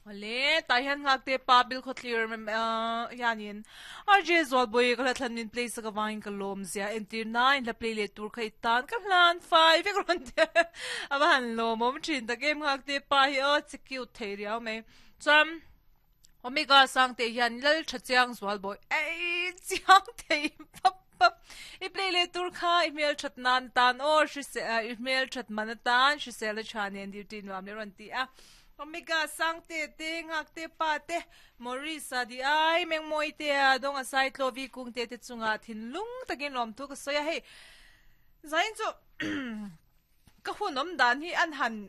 Awle, tah hian nghakte pa Bilkhawthlir hianin RJ Zualbawi ka hla thlan min play sak avangin ka lawm zia entir na in hla play leh tur kha i tan ka hlan fai vek rawn ti a, a va han lawmawm thin tak em nghakte pa hi aw che cute thei riau mai. Chuan Omega Sangte hian Lal tha chiang Zualbawi ei chiang thei pap pap i play leh tur kha i hmel that nan tan aw hrisel i hmel that man atan hrisel a tha nen duty nuam leh rawn ti a. Omega Sangte te, Nghakte Pa te, Maurice-a di ai, Mengmawi te a Dawnga Saitlovi Kungte te chungah thinlung takin lawmthu ka sawi a, hei zain chu ka hun awm dan hi an han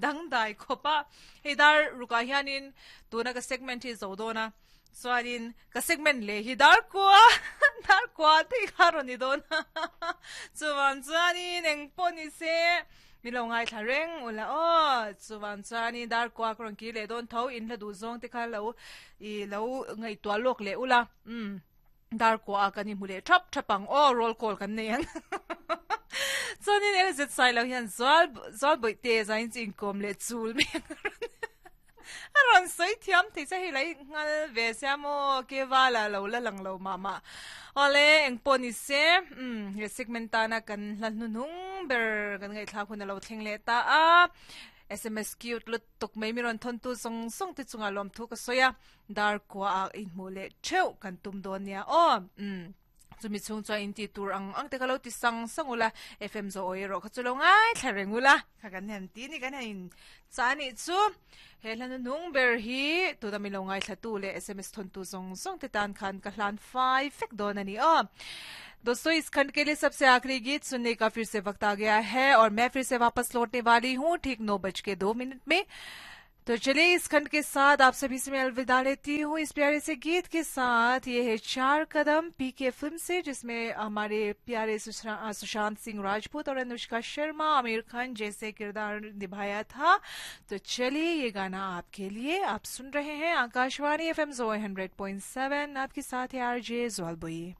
dangdai khawp a, hei dar rukah hianin tuna ka segment hi zo dawn a, chuanin ka segment leh hi dar kua dar kua te kha rawn ni dawn a, chuvang chuanin engpawh ni se. Min lo ngaithla reng ula aw, chuvang chuanin dar kuak rawn kir leh dawn tho, in hla duh zawng te kha lo i lo ngaihtuah lawk leh ula, umm dar kuah ah kan inhmu leh thap thap ang aw, roll call kan nei ang. Chuanin LZ Sailo hian Zual Zualbawih te zain chu inkawm leh chul mai ang a rawn a rawn sawi thiam thei che hei lai nghal ve sia maw ke vala lo la lang lo mah mah awle engpawh ni se umm he segment tana kan hla hnuhnung ber kan ngaihthlak hun a lo thleng leh ta a sms cute lutuk mai mi rawn thawn tu zawng zawng te chungah lawmthu ka sawi a dar kua ah inhmuh leh theuh kan tum dawn nia aw umm. Chumi chhung chuan in tih tur ang ang te ka lo ti sang sang ula, FM zawh awi erawh kha chu lo ngaithla reng ula, kha kan han ti ni kan han in chah anih chu. He hla hnuhnung ber hi tuna min lo ngaithla tu leh sms thawn tu zawng zawng te tan khan ka hlan fai fek dawn a ni aw. दोस्तों इस खंड के लिए सबसे आखिरी गीत सुनने का फिर से वक्त आ गया है और मैं फिर से वापस लौटने वाली हूँ ठीक नौ बज के दो मिनट में तो चलिए इस खंड के साथ आप सभी से मैं अलविदा लेती हूँ इस प्यारे से गीत के साथ ये है चार कदम पीके फिल्म से जिसमें हमारे प्यारे सुशांत सिंह राजपूत और अनुष्का शर्मा आमिर खान जैसे किरदार निभाया था तो चलिए ये गाना आपके लिए आप सुन रहे हैं आकाशवाणी एफ एम जो hundred point seven आपके साथ है आर जे ज्वालबोई।